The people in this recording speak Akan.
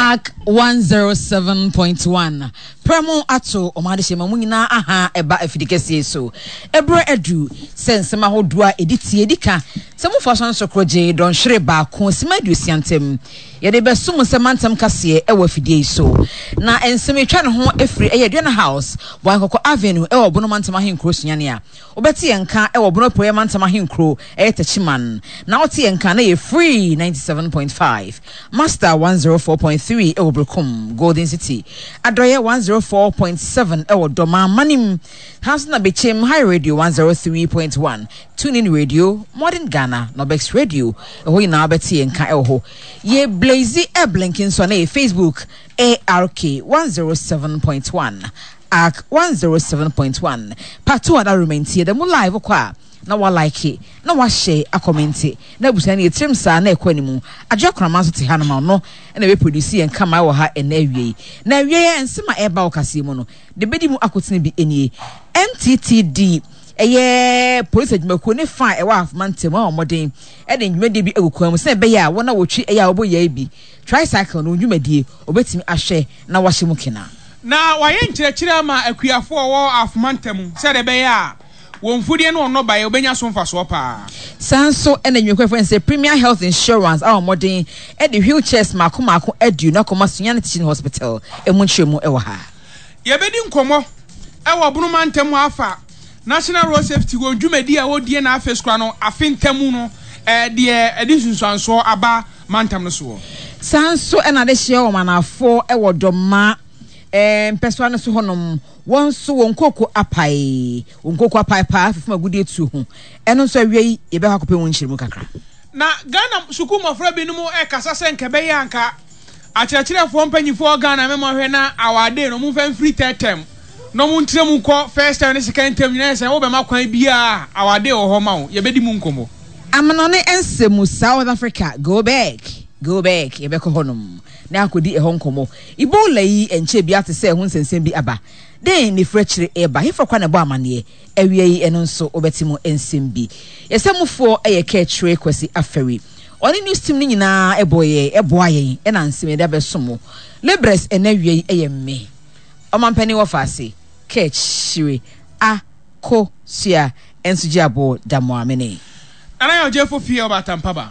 Ark 107.1 Prɛmo ato ɔman adehyɛ ma mu nyinaa aha ɛba afidi kɛseɛ so. Ɛberɛ adu sɛ nsɛm ahodoɔ a ɛdi tie di ka sɛ mofa so nso korogye dɔnhwere baako sima 60 ntam. Yɛde bɛsom sɛ mantam kaseɛ ɛwɔ afidie yi so. Na nsɛm etwa ne ho ɛfiri ɛyɛ Aduana House, Boankɔkɔ Avenue ɛwɔ Bono Mantam Ahenkuro Sunyani a wobɛte yɛn nka ɛwɔ Bono Apueeɛ Mantam Ahenkuro ɛyɛ Techiman. Na wote yɛn nka na ɛyɛ Free 97.5, Master 104.3 ɛwɔ Berekum, Golden City, Adɔeɛ 104.7 ɛwɔ Dɔmaa Manim, ha nso na Bekyem High Radio 103.1, TuneIn Radio, Modern Ghana, Nobex Radio, ɛhɔ nyinaa wobɛte yɛn nka ɛwɔ hɔ. Yɛ Blaze ɛblinki nso a na ɛyɛ Facebook ARK 107.1, ARK 107.1, Pato Adaromantie da mu live kɔ a na wa like na wa share akɔmente na abusua no yɛ tirim saa na ɛkɔ animu. Adwoa Korama nso te hanom a ɔno na ɛbɛ produce yɛn kama wɔ ha ɛnɛ awia yi. Na awia yi nsɛm a ɛreba wɔ kaseɛ mu no de bɛdi mu akotene bi nie. MTTD ɛyɛ polisi adwumakuo ne fa a ɛwɔ Ahafo mantam a wɔn mmɔden de ndwumadie bi agu kwan mu sɛ ɛbɛyɛ a wɔn a wɔtwi ɛyɛ a wɔbɔ yɛɛ bi tricycle no wɔn dwumadie wɔbɛtumi ahwɛ na wɔahyɛ mu kena. Na wɔayɛ nkyerɛkyerɛ ama akuafoɔ a wɔwɔ Ahafo mantam sɛdeɛ ɛbɛyɛ a wɔn mfudeɛ ne wɔn nnɔbaeɛ wɔbɛnya so mfasoɔ pa ara. Saa nso na nnwumakuo a yɛfrɛ no sɛ Premier Health Insurance a wɔn mmɔden de wheelchairs mmaako mmaako 20 akɔma Sunyani Teaching Hospital. Emu nkyerɛmu wɔ ha. Yɛbɛdi nkɔmmɔ wɔ Bono mantam hɔ afa National Road Safety wɔn dwumadi a wɔredie na afei koraa no afe ntamu no deɛ ɛde nsunsuansoɔ aba mantam no soɔ. Saa nso na adehyeɛ wɔ Manafoɔ wɔ Dɔma mpɛsoa no so hɔnom, wɔn nso wɔn nkooko apae, wɔn nkooko apae paa fefem agudeɛ tuo ho. Ɛno nso awia yi yɛbɛkɔ akɔpɛ mu nkyerɛmu kakra. Na Ghana sukuu mmɔfra binom rekasa sɛ nka ɛbɛyɛ a anka akyerɛkyerɛfoɔ mpanyinfoɔ wɔ Ghana mɛma hwɛ na our day no wɔmfa mfiri third term na wɔn nkyerɛ mu nkɔ first term ne second term nyinaa sɛ wobɛma kwan biara a our day wɔ hɔ ma wo, yɛbɛdi mu nkɔmmɔ. Amanɔne nsɛm South Africa go back, go back yɛbɛkɔ hɔnom na akɔdi ɛhɔ nkɔmmɔ. Ebola yi ɛnkyɛɛ biara te sɛ ɛho nsɛnsɛm bi aba. Dɛn na ɛfiri akyire reba? Hefa koraa na ɛbɔ amanneɛ? Awia yi ɛno nso wobɛte mu nsɛm bi. Yɛn sɛmmufoɔ yɛ Kɛkyerɛ Kwasi Afari. Ɔne news team no nyinaa bɔ yɛn, boa yɛn na nsɛm yɛde abɛsom mo. Libres ɛnɛ awia yi yɛ me. Ɔmampanin wɔfaase, Kɛkyire Akosua nso gye aboɔ Damoah Mene. Nana Yaw Gyefo Fie Ɔbaatampaba.